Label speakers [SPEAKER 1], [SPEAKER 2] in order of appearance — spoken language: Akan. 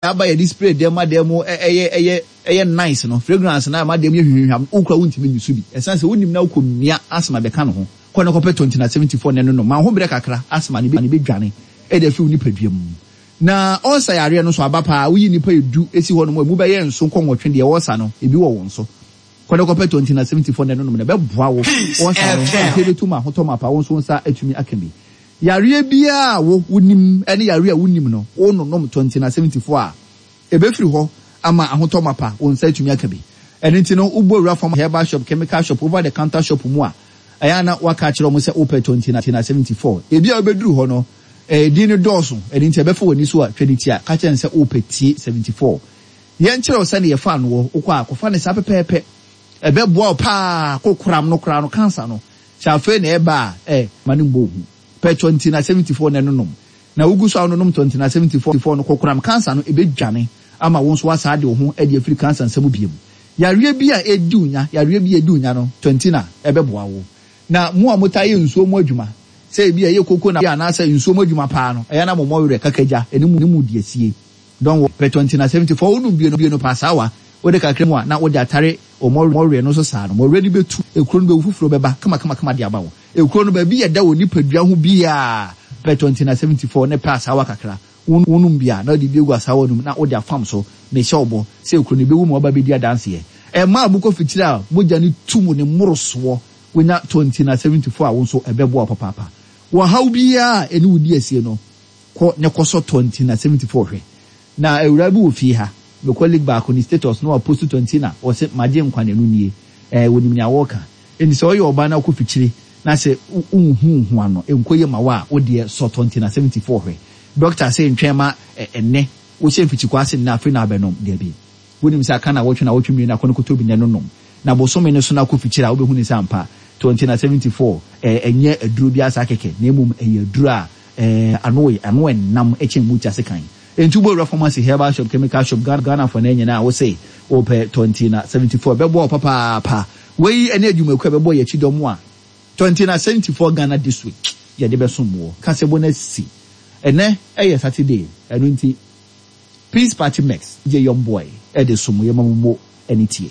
[SPEAKER 1] Aba yɛde spray dɛm ma dɛm ɛyɛ ɛyɛ ɛyɛ nice no fragrance no a ɛma dɛm yɛ hwihwihwam wo koraa wontumi nyi so bi ɛsan sɛ wonim na wokɔ mia asthma bɛka ne ho kɔ na kɔpɛ 20 na 74 na ɛno nom ma wo ho brɛ kakra asthma no bɛdwane ɛde afiri wo nipadua mu na ɔlsa yareɛ no nso aba paa woyi nnipa ɛdu ɛsi hɔ nom a ɛmu bɛyɛ nson kɔ nwɔtwe deɛ ɔlsa no ebi wɔ wɔn so kɔ na kɔpɛ 20 na 74 na ɛno nom na ɛbɛboa wo ɔlsa no nti ɛbɛtu ma ahotɔ mapa wo nso wo nsa atumi aka bi. Yareɛ biara a wo wonim ne yareɛ a wonnim no, wo nonom Tontina 74 a, ɛbɛfiri hɔ ama ahotɔ mapa, wo nsa atumi aka bi. Ɛno nti no, wobɔ wura fam herbal shop, chemical shop, over the counter shop mu a, ɛyɛ a na woaka akyerɛ wɔn sɛ wopɛ Tontina 74. Ebia wobɛduru hɔ no, edin no dɔɔso, ɛno nti ɛbɛfa w'ani so a, twa ne ti a, ka kyerɛ no sɛ wopɛ Tie 74. Yɛnkyerɛ wo sɛdeɛ yɛfa ano wɔ, wokɔ a, kɔfa no saa pɛpɛɛpɛ. Ɛbɛboa wo paa, kokoram no koraa no, cancer no, Sɛ afei na ɛreba a, ɛ, ma no mmɔ wo hu. Pɛ Tɔntina 74 na ɛnonom. Na wugu so a wononom Tɔntina 74 no, kokoram kansa no, ebedwane ama wo nso woasan de wo ho adi afiri kansa nsa mu bio. Yareɛ bi a ɛredi wo nya, yareɛ bi a ɛredi wo nya no, Tɔntina ɛbɛboa wo. Na mo a motaa yɛ nsuo mu adwuma, sɛ ebia ɛyɛ koko na anaasɛ nsuo mu adwuma paa no, ɛyɛ a na mo mmɔ werɛ kakagya ne mu di asie. Don't worry, pɛ Tɔntina 74 wonom bio no bio no paa saa wa, wode kakra mu a na wode atare Wo mmɔwerɛ no so saa no, mmɔwerɛ no bɛtu, ekuro no bɛwu, foforɔ bɛba kamakamakama de aba wo. Ekuro no, baabi a ɛda wɔ nipadua ho biara, pɛ 20 na 74 ne pɛ asaawa kakra, wonom bi a, na wode bi agu asaawa no mu na wode afam so. Mehyɛ wo bɔ sɛ ekuro no bɛwu ma woaba abɛdi adanseɛ. Mmaa a mokɔ fikyire a mogya no tu mo ne mmorosoɔ, wonya 20 na 74 a, wo nso ɛbɛboa wo papaapa. Wɔ haw biara a ɛne wo di asie no, kɔ na kɔsɔ 20 na 74 hwɛ. Na awuraa bi wɔ fie ha, me colleague baako ne status na wapost tɔnti na ɔse magye nkwa na ɛno nie. Ɛɛ wɔnim nea wɔreka. Enti sɛ woyɛ ɔbaa na wokɔ fikyire na sɛ wonhu wo ho ano, ɛnkɔ yie ma wo a, wo deɛ sɔ tɔnti na 74 hwɛ. Doctor se ntwɛn ma ɛnnɛ, wohyɛ mfikyikɔ ase nnɛ afei na abɛnom. Dabi. Wonim sɛ aka nawɔtwe nawɔtwe mmienu akɔ no kɔtɔ bi nnɛ no nom. Na bosome no so na kɔ fikyire a wobɛhu ne sɛ ampa tɔnti na 74 ɛɛ ɛnyɛ aduro biara saa kɛkɛ na mmom ɛyɛ aduro a ɛɛ ano ano ɛnam kyɛn mogya sekan. Enti wobɔ wura pharmacy, herbal shop, chemical shop, Ghana Ghana fo no nyinaa wo se wopɛ Tontina 74 ɛbɛboa wo papaapa. Wei ne adwumakuo a ɛbɛbɔ yɛn akyi dɔm a Tontina 74 Ghana this week yɛde bɛsom woɔ. Kasɛbɔ no asi. Ɛnɛ yɛ Saturday ɛno nti Peace Party Mix gye Young Boy de som yɛma mo mo ani tie.